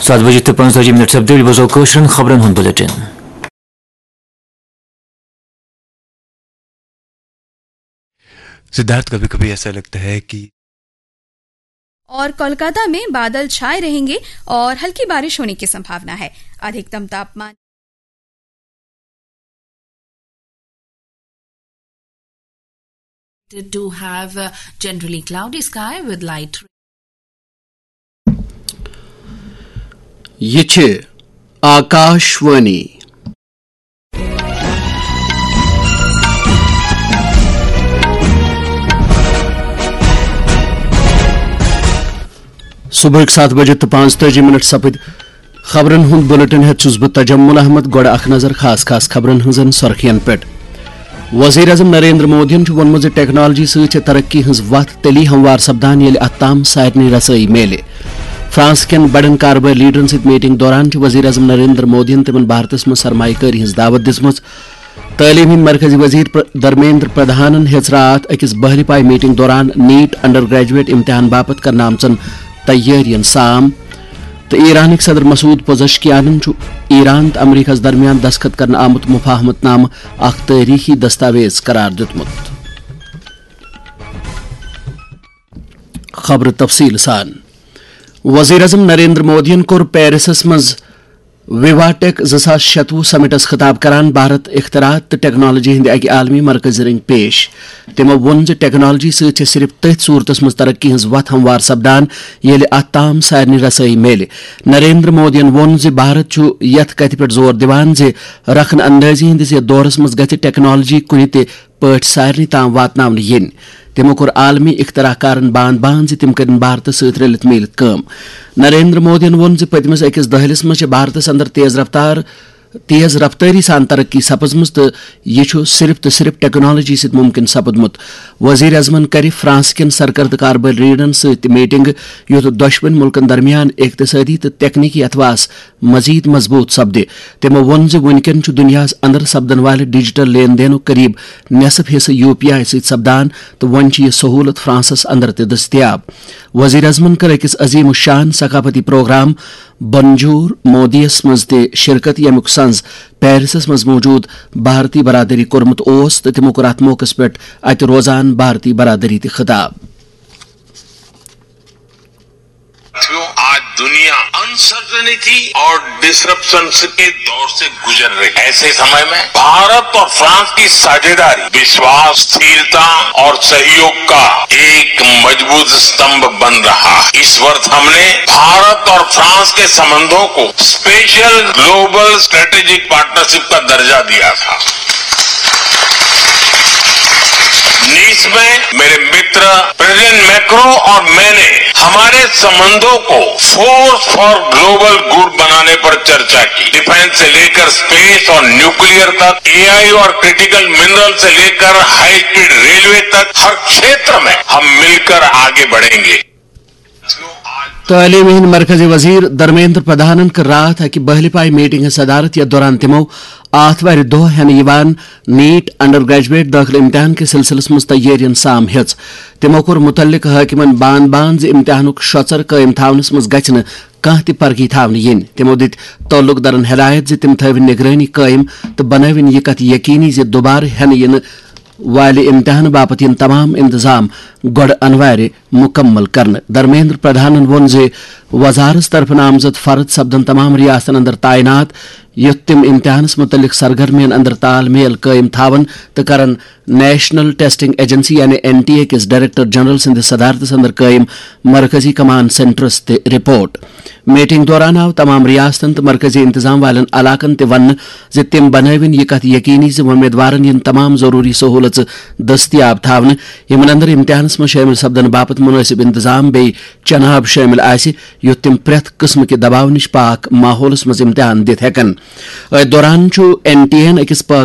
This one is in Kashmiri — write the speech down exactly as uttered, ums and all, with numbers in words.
ستھ بجے تہٕ پنٛژتٲجی منٹ سپدے، بوزو کٲشرٮ۪ن خبرن ہُنٛد بلیٹن۔ सिद्धार्थ, कभी कभी ऐसा लगता है कि और कोलकाता में बादल छाए रहेंगे और हल्की बारिश होने की संभावना है। अधिकतम तापमान to have a generally cloudy sky with light. یہ چھ آکاشوانی۔ صبحٕکۍ ستھ بجے تہٕ پانٛژتٲجی منٹ سپٕدۍ۔ خبرن ہُنٛد بلیٹن ہیتھ چھُس بہٕ تجمل احمد۔ گۄڈٕ اکھ نظر خاص خاص خبرن ہٕنٛزن سرخین پٮ۪ٹھ۔ وزیر اعظم نریندر مودیَن چھُ ووٚنمُت زِ ٹیکنالوجی سۭتۍ چھِ ترقی ہٕنٛز وتھ تیٚلی ہموار سپدان، ییٚلہِ اتھ تام سارنٕے رسٲیی میلہِ۔ فرانس کٮ۪ن بڑٮ۪ن کاربٲرۍ لیڈرن سۭتۍ میٹنگ دوران چھُ وزیر اعظم نریندر مودیَن تِمن بھارتس منٛز سرمایہ کٲری ہٕنٛز دعوت دِژمٕژ۔ تعلیم ہٕنٛدۍ مرکزی وزیر پر-، دھرمیندر پردھانن ہیٚژ راتھ أکِس بحری پاے میٹنگ دوران نیٹ انڈر گریجویٹ امتحان باپتھ کرنہٕ آمژن تیٲرین سام۔ تہٕ ایرانٕکۍ صدر مسعود پوزشکیانن چھُ ایران تہٕ امریکہس درمیان دستخط کرنہٕ آمُت مفاہمت نامہٕ اکھ تٲریخی دستاویز قرار دیُتمُت۔ خبرٕ تفصیل سان۔ وزیر اعظم نریندر مودیَن کوٚر پیرسس منٛز ویواٹیک زٕ ساس شتوُہ سمٹس خطاب کران بھارت اختراعات تہٕ ٹیکنالوجی ہٕنٛدِ اکہِ عالمی مرکزی رٔنگۍ پیش۔ تِمو ووٚن زِ ٹیکنالوجی سۭتۍ چھِ صرف تٔتھۍ صورتس منٛز ترقی ہٕنٛز وتھ ہموار سپدان، ییٚلہِ اتھ تام سارنٕے رسٲیی میلہِ۔ نریندر مودیَن ووٚن زِ بھارت چھُ یتھ کتھِ پٮ۪ٹھ زور دِوان زِ رخن اندٲزی ہٕنٛدِس یتھ دورس منٛز گژھِ ٹیکنالوجی کُنہِ تہِ پٲٹھۍ سارنٕے تام واتناونہٕ یِنۍ۔ تِمو کوٚر عالمی اختراع کارن باند باند زِ تِم کٔرِن بھارتس سۭتۍ رٔلِتھ میٖلِتھ کٲم۔ نریندر مودیَن ووٚن زِ پٔتمِس أکِس دٔہلِس منٛز چھِ بھارتس اندر تیز رفتار، تیز رفتٲری سان ترقی سپٕزمٕژ تہٕ یہِ چھُ صرف تہٕ صرف ٹیکنالوجی سۭتۍ ممکن سپُدمُت۔ وزیر اعظمن کرِ فرانس کٮ۪ن سرکردٕ کاربٲرۍ لیڈرن سۭتۍ تہِ میٹنگ، یُتھ دۄشوٕنۍ مُلکن درمیان اقتصٲدی تہٕ تکنیکی اتھواس مزید مضبوط سپدِ۔ تِمو ووٚن زِ وُنکٮ۪ن چھُ دُنیاہَس اندر سپدن والہِ ڈیجیٹل لین دینُک قریب نصف حصہٕ یو پی آئی سۭتۍ سپدان تہٕ وۄنۍ چھِ یہِ سہولت فرانسس اندر تہِ دٔستیاب۔ وزیر اعظمن کٔر أکِس عظیم الشان ثقافتی پروگرام بنجور مودیَس منٛز تہِ شرکت، ییٚمیُک سنز پیرسس منٛز موجود بھارتی برادری کوٚرمُت اوس تہٕ تِمو کوٚر اتھ موقعس پٮ۪ٹھ اتہِ روزان بھارتی برادری تہِ خطاب۔ ساتھیوں، آج دنیا انسرٹنٹی اور ڈسرپشن کے دور سے گزر رہی ہے۔ ایسے سمے میں بھارت اور فرانس کی ساجھیداری وشواس، اسथिरता और सहयोग का एक मजबूत स्तंभ बन रहा है। इस वर्ष हमने भारत और फ्रांस के संबंधों को स्पेशल ग्लोबल स्ट्रेटेजिक पार्टनरशिप का दर्जा दिया था। नीस में मेरे मित्र प्रेसिडेंट मैक्रो और मैंने हमारे संबंधों को फोर्स फॉर ग्लोबल गुड बनाने पर चर्चा की। डिफेंस से लेकर स्पेस और न्यूक्लियर तक, एआई और क्रिटिकल मिनरल से लेकर हाई स्पीड रेलवे तक, हर क्षेत्र में हम मिलकर आगे बढ़ेंगे। تعلیٖم ہٕنٛدۍ مرکزی وزیر دھرمیندر پردھانن کٔر راتھ اکہِ بحلی پاے میٹنگ ہٕنٛز صدارت، یتھ دوران تِمو آتھوارِ دۄہ ہٮ۪نہٕ یِوان نیٹ انڈر گریجویٹ دٲخلہٕ امتحان کِس سلسلس منٛز تیٲرین سام ہیٚژ۔ تِمو کوٚر مُتعلقہٕ حٲکمن باند باند زِ امتحانُک شۄژر قٲیِم تھاونس منٛز گژھِ نہٕ کانٛہہ تہِ پرگی تھاونہٕ یِنۍ۔ تِمو دِتۍ تعلق دارن ہدایت زِ تِم تھٲوِن نگرٲنی قٲیِم تہٕ بنٲوِن یہِ کتھ یقینی زِ دُبارٕ ہٮ۪نہٕ یِنہٕ والہِ امتحان باپتھ یِن تمام انتظام گۄڈٕ انوارِ مُکمل کرنہٕ۔ دھرمیندر پردھانن ووٚن زِ وزارتس طرفہٕ نامزد فرد سپدن تمام ریاستن اندر تعینات، یُتھ تِم امتحانس مُتعلق سرگرمین اندر تال میل قٲیِم تھاون تہٕ کرن نیشنل ٹیسٹنگ ایجنسی یعنی این ٹی اے کِس ڈائریکٹر جنرل سٕنٛدِس صدارتس اندر قٲیِم مرکزی کمانڈ سینٹرس تہِ رپورٹ۔ میٹنگ دوران آو تمام ریاستن تہٕ مرکزی انتظام والٮ۪ن علاقن تہِ وننہٕ زِ تِم بنٲوِن یہِ کتھ یقینی زِ وۄمیدوارن یِن تمام ضروری سہولژٕ دٔستیاب تھاونہٕ، یِمن اندر امتحانس منٛز شٲمِل سپدن باپتھ مُنٲسِب انتظام بیٚیہِ چنہٕ آب شٲمِل آسہِ، یُتھ تِم پرٛٮ۪تھ قٕسمہٕ کہِ دباو نِش پاک ماحولس منٛز امتحان دِتھ ہٮ۪کن۔ أتھۍ دوران چھُ این ٹی اے یَن أکِس پٲغامس